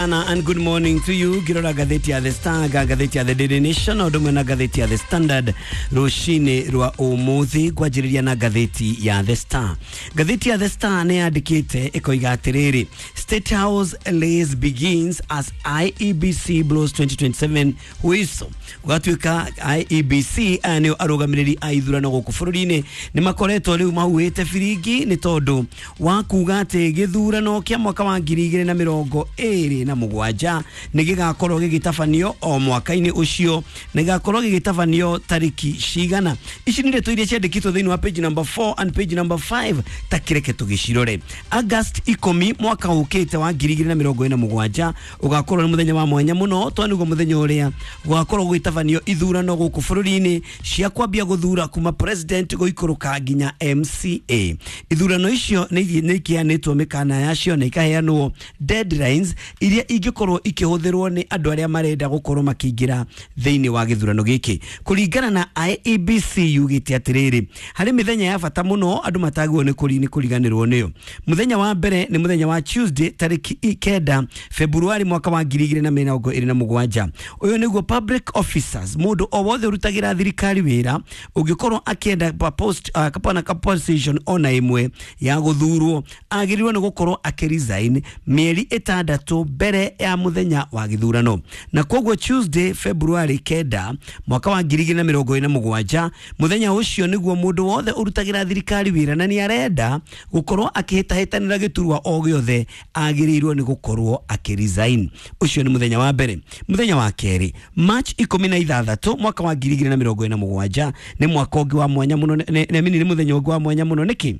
Anna, and good morning to you. Ngirora ngathĩti ya The Star, ngathĩti ya The Daily Nation, o ũndũ ũmwe na ngathĩti ya The Standard rũcinĩ rwa ũmũthĩ. Ngwanjĩrĩria na ngathĩti ya The Star. Ngathĩti ya The Star nĩ yandĩkĩte ĩkoiga atĩrĩrĩ, "State House race begins as IEBC blows 2027 whistle." Gũgatuĩka IEBC, aya nĩo arũgamĩrĩri a ithurano gũkũ bũrũri-inĩ, nĩ makoretwo rĩu mahuhĩte biringi nĩ tondũ wa kuga atĩ gĩthurano kĩa mwaka wa 2027 nĩ gĩgakorwo gĩgĩtabanio o mwaka-inĩ ũcio, na gĩgakorwo gĩgĩtabanio tarĩki cigana. Ici nĩ ndeto iria ciandĩkĩtwo thĩinĩ wa page number 4 and page number 5. Ta kĩreke tũgĩcirore. August 10 mwaka ũkĩte wa 2027 ũgakorwo nĩ mũthenya wa mwanya mũno, tondũ nĩguo mũthenya ũrĩa gũgakorwo gũgĩtabanio ithurano gũkũ bũrũri-inĩ cia kwambia gũthura kuma president gũikũrũka nginya MCA. Ithurano icio nĩ ikĩheanĩtwo mĩkana yacio na ikaheanwo deadlines iria ingĩkorwo ikĩhũthĩrwo nĩ andũ arĩa marenda gũkorwo makĩingĩra thĩinĩ wa gĩthurano gĩkĩ. Kũringana na IEBC, yugĩte atĩrĩrĩ, harĩ mĩthenya ya bata mũno andũ matagĩrĩirwo nĩ kũriganĩrwo nĩyo. Mũthenya wa mbere nĩ mũthenya wa Tuesday, tarĩki 9 Februari mwaka wa 2027. Ũyũ nĩguo public officers, mũndũ o wothe ũrutagĩra thirikari wĩra, ũngĩkorwo akĩenda pa post kapana ka position ona ĩmwe ya gũthurwo, agĩrĩirwo nĩ gũkorwo akĩresign mĩeri 6 mbere ya mũthenya wa gĩthurano. Na koguo Tuesday, February 9 mwaka wa 2027, mũthenya ũcio nĩguo mũndũ wothe ũrutagĩra thirikari wĩra na nĩ arenda gũkorwo akĩhĩtahĩtanĩra gĩturwa o gĩothe agĩrĩirwo nĩ gũkorwo akĩresign. Ũcio nĩ mũthenya wa mbere. Mũthenya wa kerĩ, March 16 mwaka wa 2027, nĩ mwaka ũngĩ wa mwanya mũno, nĩ mũthenya ũngĩ wa mwanya mũno. Nĩkĩ?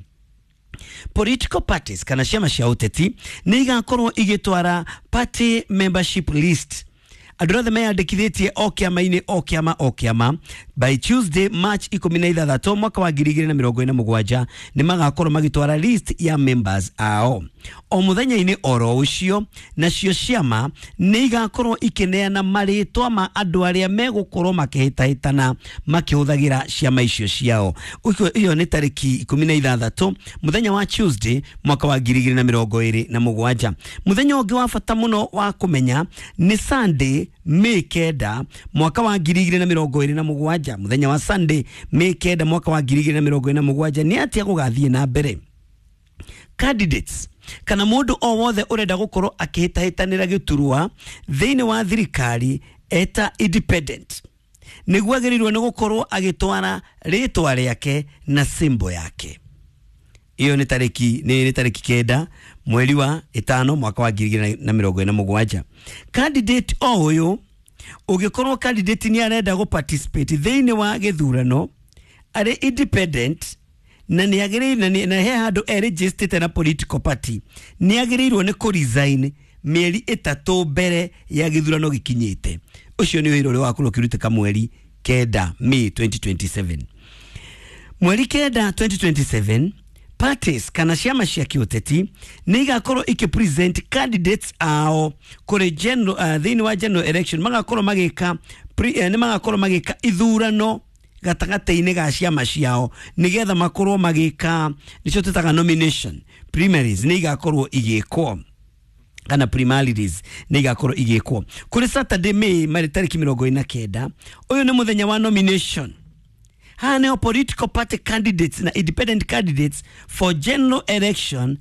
Political parties kana ciama cia ũteti nĩ igakorwo igĩtwara party membership list, andũ othe meyandĩkithĩtie o kĩama-inĩ, o kĩama, o kĩama, by Tuesday, March 16 mwaka wa 2027, nĩ magakorwo magĩtwara list ya members ao. O mũthenya-inĩ oro ũcio, nacio ciama nĩ igakorwo ikĩneana marĩtwa ma andũ arĩa megũkorwo makĩhĩtahĩtana makĩhũthagĩra ciama icio ciao. Ĩyo nĩ tarĩki 16, mũthenya wa Tuesday, mwaka wa 2027. Mũthenya ũngĩ wa bata mũno wa kũmenya nĩ Sunday, May 9 mwaka wa 2027. Mũthenya wa Sunday, May 9 mwaka wa 2027, nĩ atĩa gũgathiĩ na mbere? Candidates kana mũndũ o wothe ũrenda gũkorwo akĩhĩtahĩtanĩra gĩturwa thĩinĩ wa thirikari eta independent, nĩguo agĩrĩirwo nĩ gũkorwo agĩtwara rĩtwa rĩake na symbol yake. Iyo nĩ tarĩki 9 mweri wa 5 mwaka wa 2027. Candidate o ũyũ, ũngĩkorwo candidate nĩ arenda gũ participate thĩinĩ wa gĩthurano arĩ independent na nĩ agĩrĩire na he handũ e na political party, nĩ agĩrĩirwo nĩ kũ resign mĩeri 3 mbere ya gĩthurano gĩkinyĩte. Ũcio nĩ wĩra ũrĩa wakorwo ũkĩrutĩka mweri 9, May 2027. Mweri 9 2027, parties kana ciama cia kĩũteti nĩ igakorwo ikĩpresent candidates ao kũrĩ general, thĩinĩ wa general election. Magakorwo magĩka nĩ magakorwo magĩka ithurano gatagatĩ-inĩ ga ciama ciao nĩgetha makorwo magĩka nĩcio twĩtaga nomination. Primaries nĩ igakorwo igĩkwo, kana primaries nĩ igakorwo igĩkwo kũrĩ Saturday, May marĩ tarĩki 49. Ũyũ nĩ mũthenya wa nomination. Haha nĩho political party candidates na independent candidates for general election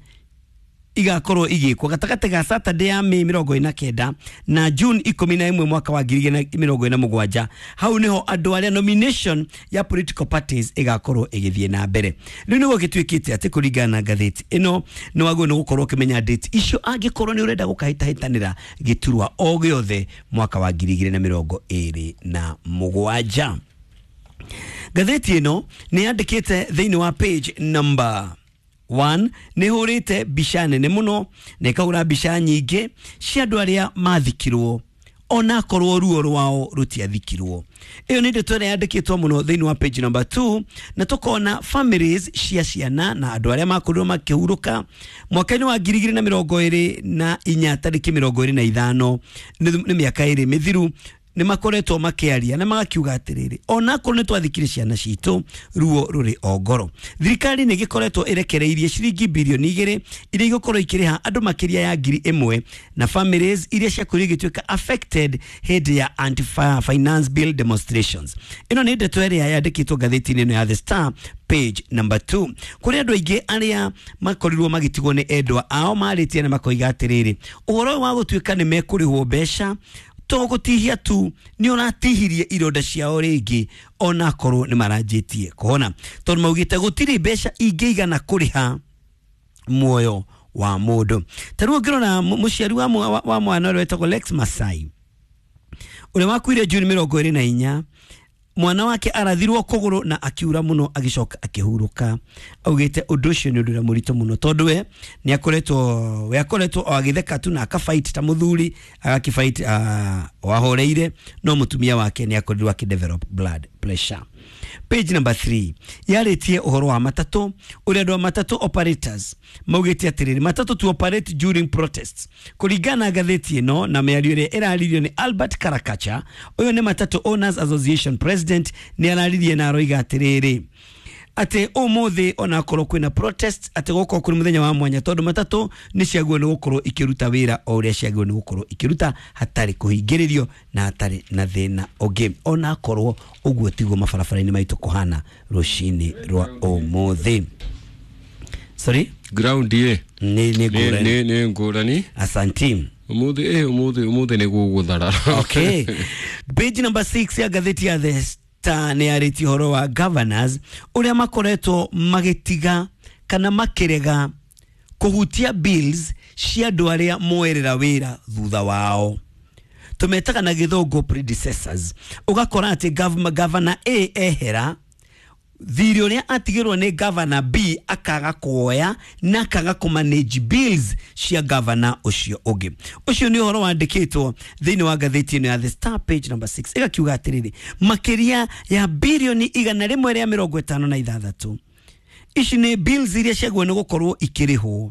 igakorwo igĩkwo gatagatĩ ga Saturday ya May 49 na June 11 mwaka wa 2027. Hau niho andũ arĩa nomination ya political parties ĩgakorwo ĩgĩthiĩ na mbere. Rĩu nĩguo gĩtuĩkĩte atĩ kũringana na ngathĩti ĩno, nĩ wagĩrĩirwo nĩ gũkorwo ũkĩmenya date icio angĩkorwo nĩ ũrenda gũkahĩtahĩtanĩra gĩturwa o gĩothe mwaka wa 2027. Ngathĩti ĩno nĩ yandĩkĩte thĩinĩ wa page number 1, nĩ hũrĩte mbica nene mũno na ĩkahũra mbica nyingĩ cia andũ arĩa mathikirwo onakorwo ruo rwao rũtiathikirwo. Ĩyo nĩ ndeto ĩrĩa yandĩkĩtwo mũno thĩinĩ wa page number 2, na tũkona families cia ciana na andũ arĩa makorirwo makĩhurũka mwaka-inĩ wa 2024 tarĩki 25, nĩ mĩaka 2 mĩthiru. nĩ makoretwo makĩaria na magakiuga atĩrĩrĩ, onakorwo nĩ twathikire ciana citũ, ruo rũrĩ o ngoro. Thirikari nĩ ĩgĩkoretwo ĩrekereirie ciringi birioni 2 iria igũkorwo ikĩrĩha andũ makĩria ya 1,000 na families iria ciakorirwo igĩtuĩka affected hĩndĩ ya anti finance bill demonstrations. Ĩno nĩ ndeto ĩrĩa yandĩkĩtwo ngathĩti-inĩ ĩno ya The Star, page number 2. Kũrĩ andũ aingĩ arĩa makorirwo magĩtigwo nĩ endwa ao marĩtie na makoiga atĩrĩrĩ, ũhoro ũyũ wa gũtuĩka nĩ mekũrĩhwo mbeca to gũtihia tu, nĩ ũratihirie ironda ciao rĩngĩ, onakorwo nĩ maranjĩtie kũhona, tondũ maugĩte gũtirĩ mbeca ingĩigana kũrĩha muoyo wa mũndũ. Ta rĩu ũngĩrora mũciari wa mwana ũrĩa wetagwo Lex Masai, ũrĩa wakuire Juni 24, mwana wake arathirwo kũgũrũ na akiura mũno, agĩcoka akĩhurũka. Augĩte ũndũ ũcio nĩ ũndũ ũrĩa mũritũ mũno, tondũ we nĩ akoretwo, we akoretwo o agĩtheka tu na akafight ta mũthuri, agakĩfight wahoreire, no mũtumia wake nĩ akorirwo akĩdevelop blood pressure. Page number 3 yarĩtie ũhoro wa matatũ, ũrĩa andũ a matatũ operators maugĩte atĩrĩrĩ, matatũ to operate during protests. Kũringana na ngathĩti ĩno na mĩario ĩrĩa ĩraririo nĩ Albert Karakacha, ũyũ nĩ Matatu Owners Association president, nĩ araririe na aroiga atĩrĩrĩ, atĩ ũmũthĩ onakorwo kwĩna protest, atĩ gũkorwo kũrĩ mũthenya wa mwanya, tondũ matatũ nĩ ciagĩrĩirwo nĩ gũkorwo ikĩruta wĩra o ũrĩa ciagĩrĩirwo nĩ gũkorwo ikĩruta, hatarĩ kũhingĩrĩrio na hatarĩ na thĩna ũngĩ, onakorwo ũguo tiguo mabarabara-inĩ maitũ kũhana rũcinĩ rwa ũmũthĩ. Sorry? Ground ye. Nĩ ngũrani. Nĩ ngũrani. Asanti. Ũmũthĩ nĩ gũgũtharara. Okay. Page number 6 ya ngathĩti ya The Star nĩ yarĩtie ũhoro wa governors ũrĩa makoretwo magĩtiga kana makĩrega kũhutia bills cia andũ arĩa moerera wĩra thutha wao, tũmetaga na gĩthũngũ predecessors. Ũgakora atĩ governor A ehera, thirĩ ũrĩa atigĩrwo nĩ governor B akaga kuoya na akaga kũmanage bills cia governor ũcio ũngĩ. Ũcio nĩ ũhoro wandĩkĩtwo thĩinĩ wa ngathĩti ĩno ya The Star, page number 6, ĩgakiuga atĩrĩrĩ, makĩria ya birioni 156, ici nĩ bills iria ciagĩrĩirwo nĩ gũkorwo ikĩrĩhwo,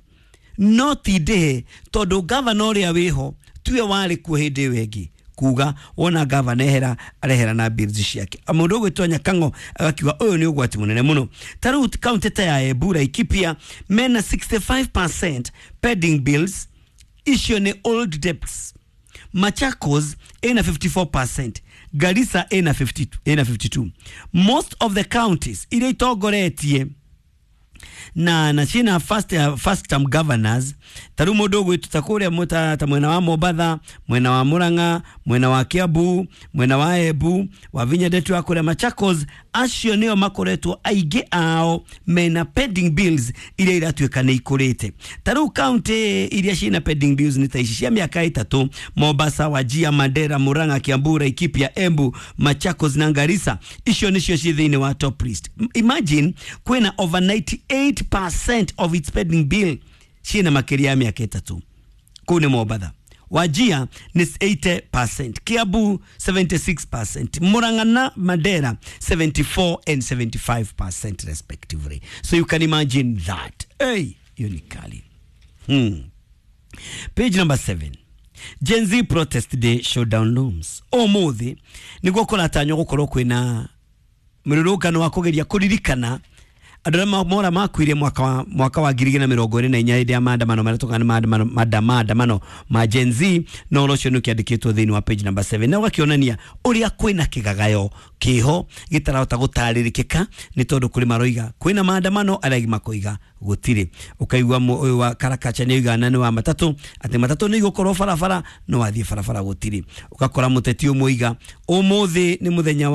no ti ndĩhe tondũ governor ũrĩa wĩho tiwe warĩ kuo hĩndĩ ĩyo ĩngĩ. Kuga wona gavana ehera, arehera na bills ciake. Mũndũ ũgwĩtwo Nyakang'o agakiuga ũyũ nĩ ũgwati mũnene mũno. Ta rĩu kaunti ta ya Embu, Laikipia mena 65% pending bills, icio nĩ old debts. Machakos ina 54%, Garissa ina 52, ina 52. Most of the counties iria itongoretie na ciĩna first term governors, ta rĩu mũndũ ũgwĩtwo ta kũrĩa ta mwena wa Mombatha, mwena wa Murang'a, mwena wa Kiambu, mwena wa Embu, wa Vinya Ndeto wa kũrĩa Machakos, acio nĩo makoretwo aingĩ ao mena pending bills iria iratuĩka nĩ ikũrĩte. Ta rĩu county iria ciĩna pending bills nĩ ta ici cia mĩaka 3: Mombasa, Wajir, Mandera, Murang'a, Kiambu, Laikipia, Embu, Machakos na Garissa. Icio nĩcio ciĩ thĩinĩ wa top list. Imagine kwĩna over 98% of its pending bill ciĩna makĩria ya mĩaka 3. Kũu nĩ Mombatha. Wajir nĩ 80%, Kiambu 76%, Murang'a na Mandera 74 and 75% respectively. So you can imagine that. Hey, hiyo ni kali. Page number 7. Gen Z protest day showdown looms. Ũmũthĩ nĩguo kũratanywo gũkorwo kwĩna mũrũrũngano wa kũgeria kũririkana andũ arĩa mora makuire mwaka wa 2024 hĩndĩ ya maandamano marĩa tũkaga nĩ maandamano ma Gen Z. Na ũhoro ũcio nĩ ũkĩandĩkĩtwo thĩinĩ wa page number 7 na ũgakĩonania ũrĩa kwĩna kĩgagayo kĩho gĩtarahota gũtarĩrĩkĩka, nĩ tondũ kũrĩ maroiga kwĩna maandamano, arĩa angĩ makoiga gũtirĩ. Ũkaigua ũyũ wa Karakacha nĩ oiga na nĩ wa matatũ atĩ matatũ nĩ igũkorwo barabara, no wathiĩ barabara gũtirĩ. Ũgakora mũteti ũmwe oiga ũmũthĩ nĩ mũthenya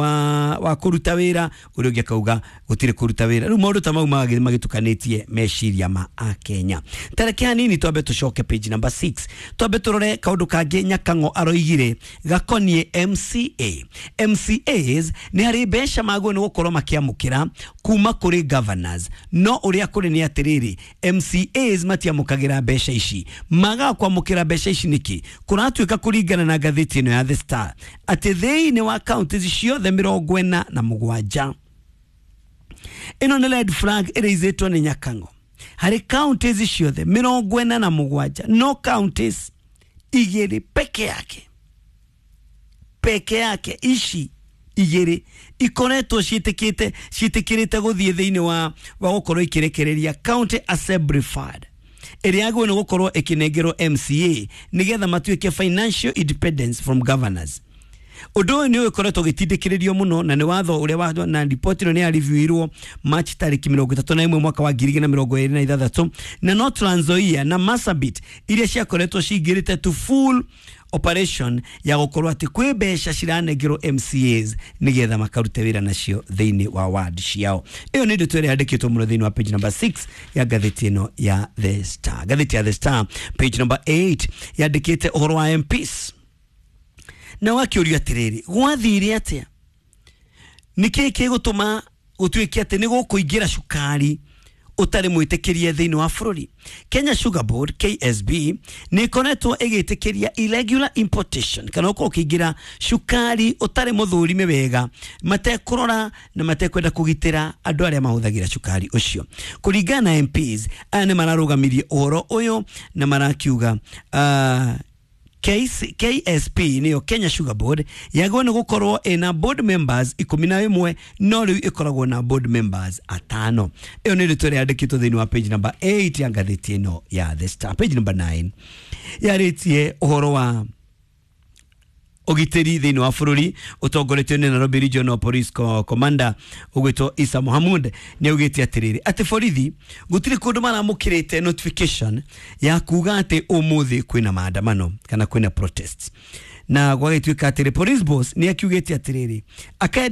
wa kũruta wĩra, ũrĩa ũngĩ akauga gũtirĩ kũruta wĩra. Rĩu maũndũ ta mau magagĩthiĩ magĩtukanĩtie meciria ma akenya. Tareke hanini twambe tũcoke page number 6, twambe tũrore kaũndũ kangĩ Nyakang'o aroigire gakoniĩ MCA. MCAs nĩ harĩ mbeca magwo nĩ gũkorwo makĩamũkĩra kuma kũrĩ governors, no ũrĩa kũrĩ nĩ atĩrĩrĩ, MCAs matiamũkagĩra mbeca ici. Magaga kwamũkĩra mbeca ici nĩkĩ? Kũratuĩka kũringana na ngathĩti ĩno ya The Star atĩ thĩinĩ wa counties ciothe 47, ĩno nĩ red flag ĩraizĩtwo nĩ Nyakang'o, harĩ counties ciothe 47, no counties igĩrĩ peke yake. peke yake ici igĩrĩ ikoretwo ciĩtĩkĩte ciĩtĩkĩrĩte gũthiĩ thĩinĩ wa gũkorwo ikĩrekereria County Assembly Fund ĩrĩa yagĩrĩirwo nĩ gũkorwo ĩkĩnengerwo MCA nĩgetha matuĩke financial independence from governors. Ũndũ ũyũ nĩ ũkoretwo ũgĩtindĩkĩrĩrio mũno na nĩ watho ũrĩa wa na riboti ĩno nĩ yareviewirwo March tarĩki 31 mwaka wa 2026 na no Trans Nzoia na Marsabit iria ciakoretwo cingĩrĩte to full operation ya gũkorwo atĩ kwĩ mbeca ciranengerwo MCAs nĩgetha makarute wĩra nacio thĩinĩ wa ward ciao. Ĩyo nĩ ndeto ĩrĩa yandĩkĩtwo mũno thĩinĩ wa page number 6 ya ngathĩti ĩno ya The Star. Ngathĩti ya The Star page number 8 yandĩkĩte ũhoro wa MPs na wakĩũrio atĩrĩrĩ, gwathire atĩa, nĩkĩĩ gĩgũtũma gũtuĩke atĩ nĩ gũkũingĩra cukari ũtarĩ mwĩtĩkĩrie thĩinĩ wa bũrũri? Kenya Sugar Board KSB nĩ ĩkoretwo ĩgĩtĩkĩria irregular importation kana ũkorwo ũkĩingĩra cukari ũtarĩ mũthũrime wega, matekũrora na matekwenda kũgitĩra andũ arĩa mahũthagĩra cukari ũcio. Kũringana na MPs aya nĩ mararũgamirie ũhoro ũyũ na marakiuga KSP nĩyo Kenya Sugar Board yagĩrĩirwo nĩ gũkorwo ĩna board members 11 no rĩu ĩkoragwo na board members atano. Ĩyo nĩ ndeto ĩrĩa yandĩkĩtwo thĩinĩ wa page number 8 ya ngathĩti ĩno ya The Star. Page number 9 yarĩtie ũhoro wa ũgitĩri thĩinĩ wa bũrũri ũtongoretio nĩ Nairobi Regional Police Commander ũgwĩtwo Isa Mohamud nĩ augĩte atĩrĩrĩ atĩ borithi gũtirĩ kũndũ maramũkĩrĩte notification ya kuga atĩ ũmũthĩ kwĩna maandamano kana kwĩna protests, na gwagĩtuĩka atĩrĩ police boss nĩ akiugĩte atĩrĩrĩ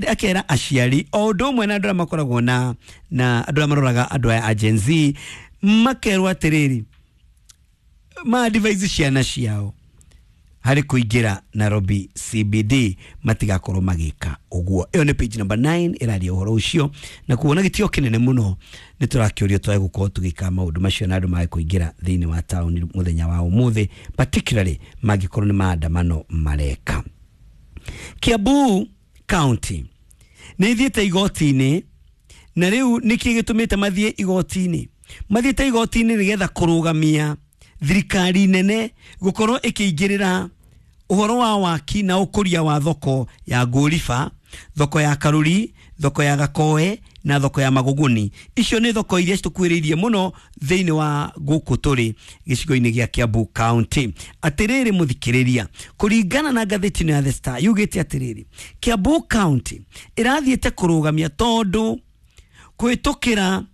akera aciari o ũndũ ũmwe na andũ arĩa makoragwo na andũ arĩa maroraga andũ aya a Gen Z makerwo atĩrĩrĩ ma advise ciana ciao harĩ kũingĩra Nairobi CBD matigakorwo magĩka ũguo. Ĩyo nĩ page number 9 ĩraria ũhoro ũcio na kuona gĩtĩo kĩnene mũno nĩ tũrakĩũrio twage gũkorwo tũgĩka maũndũ macio na andũ mage kũingĩra thĩinĩ wa taũni mũthenya wa ũmũthĩ, particularly mangĩkorwo nĩ maandamano mareka. Kiambu County nĩ ithiĩte igoti-inĩ na rĩu nĩkĩ gĩtũmĩte mathiĩ igoti-inĩ? Mathiĩte igoti-inĩ nĩgetha kũrũgamia thirikari nene gũkorwo ĩkĩingĩrĩra ũhoro wa waki na ũkũria wa thoko ya Ngũriba, thoko ya Karuri, thoko ya Gakoe na thoko ya Magũgũni. Icio nĩ thoko iria citũkuĩrĩirie mũno thĩinĩ wa gũkũ tũrĩ gĩcigo-inĩ gĩa Kiambu County. Atĩrĩrĩ mũthikĩrĩria, kũringana na ngathĩti ĩno ya The Star yugĩte atĩrĩrĩ, Kiambu County ĩrathiĩte kũrũgamia tondũ kũhĩtũkĩra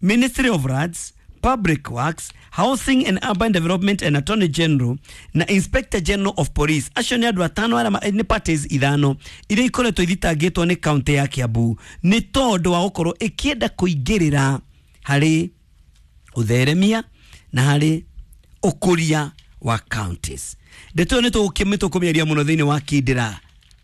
Ministry of Roads, Public Works, Housing and Urban Development and Attorney General na Inspector General of Police. Acio nĩ andũ atano arĩa nĩ parties ithano iria ikoretwo ithitangĩtwo nĩ county ya Kiambu nĩ tondũ wa gũkorwo ĩkĩenda kũingĩrĩra harĩ ũtheremia na harĩ ũkũria wa counties. Ndeto ĩyo nĩ tũkũmĩaria mũno thĩinĩ wa Kindĩra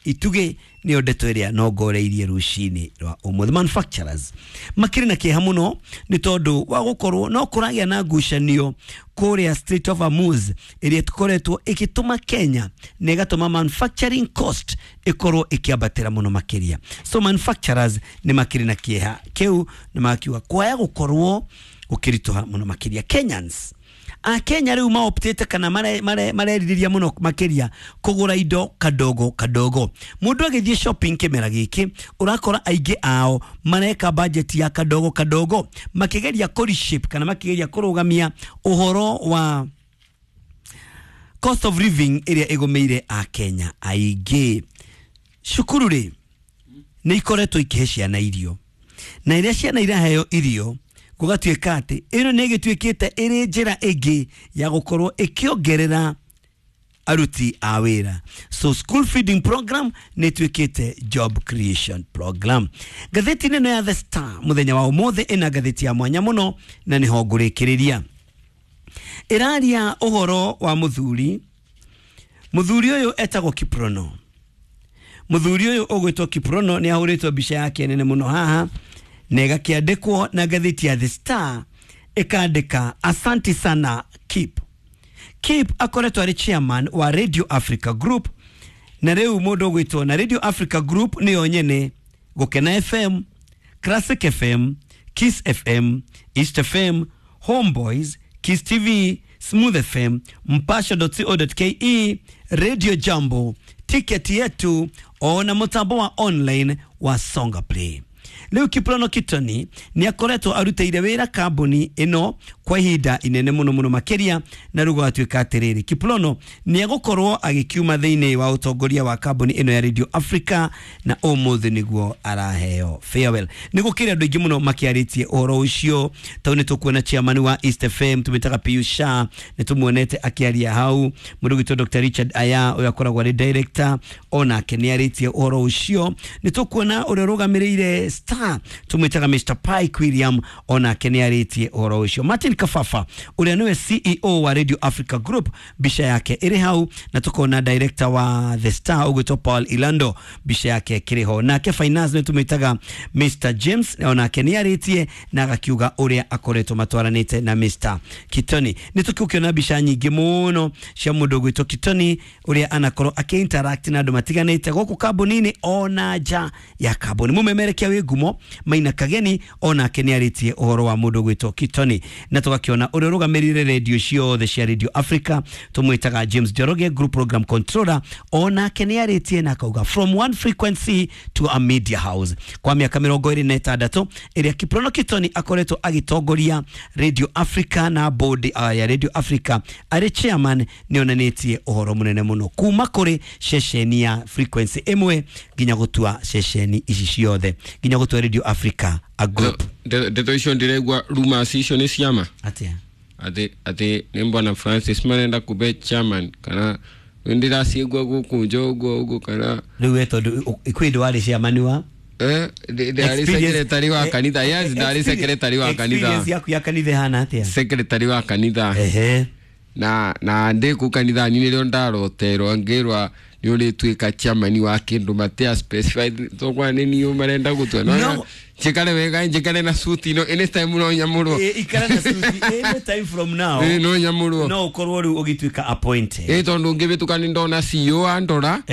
Itugĩ, nĩyo ndeto ĩrĩa nongoreirie rũcinĩ rwa ũmũthĩ. Manufacturers makĩrĩ na kĩeha mũno nĩ tondũ wa gũkorwo no kũragĩa na ngucanio kũrĩa Strait of Hormuz ĩrĩa ĩkoretwo ĩgĩtũma Kenya na ĩgatũma manufacturing cost ĩkorwo ĩkĩambatĩra mũno makĩria. So manufacturers nĩ makĩrĩ na kĩeha kĩu na makiuga kwaya gũkorwo gũkĩritũha mũno makĩria. Kenyans a Kenya rĩu maoptĩte kana marerirĩria mũno makĩria kũgũra indo kadogo kadogo. Mũndũ agĩthiĩ shopping kĩmera gĩkĩ ũrakora aingĩ ao mareka budget ya kadogo kadogo makĩgeria kũ reshape kana makĩgeria kũrũgamia ũhoro wa cost of living ĩrĩa ĩgũmĩire a Kenya aingĩ. Cukuru rĩ nĩ ikoretwo ikĩhe ciana irio na iria ciana iraheo irio gũgatuĩka atĩ ĩno nĩ ĩgĩtuĩkĩte ĩrĩ njĩra ĩngĩ ya gũkorwo ĩkĩongerera aruti a wĩra. So school feeding program nĩ ĩtuĩkĩte job creation program. Ngathĩti ĩno ya The Star mũthenya wa ũmũthĩ ĩna ngathĩti ya mwanya mũno na nĩho ngũrĩkĩrĩria. Ĩraria ũhoro wa mũthuri. Mũthuri ũyũ etagwo Kiprono. Mũthuri ũyũ ũgwĩtwo Kiprono nĩ ahũrĩtwo mbica yake nene mũno haha na ĩgakĩandĩkwo na ngathĩti ya The Star ĩkandĩka asanti sana Kip. Kip akoretwo arĩ chairman wa Radio Africa Group na rĩu mũndũ ũgwĩtwo na Radio Africa Group nĩyo nyene Gũkena FM, Classic FM, Kiss FM, East FM, Homeboys, Kiss TV, Smooth FM, Mpasho.co.ke, Radio Jambo, Tiketi Yetu ona mũtambo wa online wa Songa Play. Rĩu Kiprono Kitoni nĩ akoretwo arutĩire wĩra kambuni ĩno kwa ihinda inene mũno mũno makĩria, na rĩu gwatuĩka atĩrĩrĩ, Kiprono nĩ egũkorwo agĩkiuma thĩinĩ wa ũtongoria wa kambuni ĩno ya Radio Africa, na ũmũthĩ nĩguo araheo farewell. Nĩ gũkĩrĩ andũ aingĩ mũno makĩarĩtie ũhoro ũcio, tondũ nĩ tũkuona chairman wa East FM tũmĩtaga Pius Shah, nĩ tũmuonete akĩaria hau. Mũndũ ũgwĩtwo Dr Richard Aya, ũrĩa akoragwo arĩ director, onake nĩ arĩtie ũhoro ũcio. Nĩ tũkuona ũrĩa ũrũgamĩrĩire Star tumwitaga Mr Pike William, onake nĩ arĩtie ũhoro ũcio. Martin Kafafa ũrĩa nĩwe CEO wa Radio Africa Group, mbica yake ĩrĩ hau, na tukona director wa The Star ũgwĩtwo Paul Ilando, mbica yake ĩkĩrĩ ho. Nake finance nĩ tumwitaga Mr James, onake nĩ arĩtie na agakiuga ũrĩa akoretwo matwaranĩte na Mr Kitoni. Nĩ tũkĩona mbica nyingĩ mũno cia mũndũ ũgwĩtwo Kitoni ũrĩa anakorwo akĩ-interact na andũ matiganĩte gũkũ kambuni-inĩ ona nja ya kambuni. Mũmemerekia wĩ ngumo Maina Kageni onake nĩ arĩtie ũhoro wa mũndũ ũgwĩtwo Kitoni, na tũgakĩona ũrĩa ũrũgamĩrĩire radio ciothe cia Radio Africa tũmwĩtaga James Njoroge, group program controller, onake nĩ arĩtie na akauga from one frequency to a media house. Kwa mĩaka 26 ĩrĩa Kiprono Kitoni akoretwo agĩtongoria Radio Africa na board ya Radio Africa arĩ chairman, nĩ onanĩtie ũhoro mũnene mũno kuma kũrĩ ceceni ya frequency ĩmwe nginya gũtua ceceni ici ciothe, nginya gũtua Radio Africa a group. Ndeto icio ndĩraigua rumors icio nĩ ciama atia atĩ nĩ mbwana Francis marenda kũbe chairman, kana ndĩraciigua gũkũ nja ũguo ũguo, kana rĩu we tondũ kwĩ ndũ warĩ chairman wa ndarĩ secretary wa kanitha. Yes, ndarĩ secretary wa kanitha. Experience yaku ya kanitha ĩhana atĩa? Secretary wa kanitha. Ehe. Na ndĩ kũu kanitha-inĩ nĩrĩo ndaroterwo ngĩrwa nĩ ũrĩtuĩka chairman wa kĩndũ matia specified, tokwa nĩ niĩ marenda gũtua. No njikare wega, njikare na suti no anytime no nyamũrwo. Ikara na suti anytime from now. No nyamũrwo. No ũkorwo rĩu ũgĩtuĩka appointed. Tondũ ngĩhĩtũka nĩ ndona CEO andora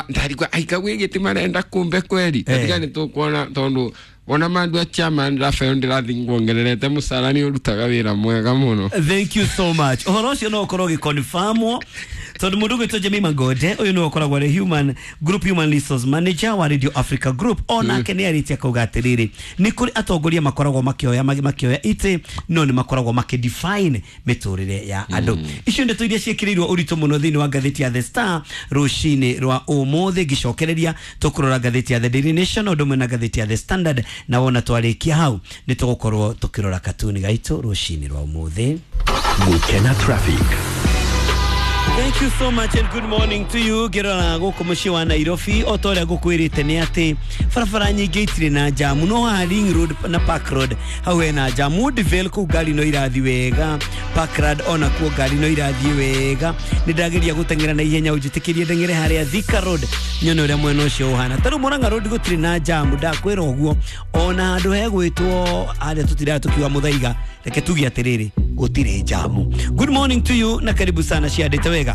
ndarigua aika gwĩ gĩtĩ marenda kumbe kweri. Tiga nĩ tũkuona tondũ wona mandu a chairman Rafael ndĩrathiĩ nguongererete mũcara, nĩ ũrutaga wĩra mwega mũno. Thank you so much. Ũhoro ũcio no ũkorwo ũgĩconfirmwo tondũ mũndũ ũgwĩtwo Jemima Ngode ũyũ nĩwe ũkoragwo arĩ human group human resource manager wa Radio Africa Group, onake nĩ arĩtie akauga atĩrĩrĩ, nĩ kũrĩ atongoria makoragwo makĩoya itĩ no nĩ makoragwo makĩdefine mĩtũrĩre ya andũ. Icio ndeto iria ciĩkĩrĩirwo ũritũ mũno thĩinĩ wa ngathĩti ya The Star rũcinĩ rwa ũmũthĩ. Ngĩcokereria tũkũrora ngathĩti ya The Daily Nation ũndũ ũmwe na ngathĩti ya The Standard, na wona twarĩkia hau nĩ tũgũkorwo tũkĩrora katuni gaitũ rũcinĩ rwa ũmũthĩ. Gukena traffic. Thank you so much and good morning to you. Ngĩrora gũkũ mũciĩ wa Nairobi o ta ũrĩa ngũkwĩrĩte nĩ atĩ barabara nyingĩ itirĩ na jamu, no haha Ring Road na Park Road hau hena jamu. Woodvale kũu ngari no irathiĩ wega, Parkland ona kuo ngari no irathiĩ wega. Nĩ ndageria gũteng'era na ihenya, ũnjĩtĩkĩrie ndeng'ere harĩa Thika Road nyone ũrĩa mwena ũcio ũhana. Ta rĩu Murang'a Road gũtirĩ na jamu, ndakwĩra ũguo. Ona handũ hegwĩtwo harĩa tũtiraga tũkiuga Mũthaiga, reke tuge atĩrĩrĩ, gũtirĩ jamu. Good morning to you na karibu sana ciandĩte wega.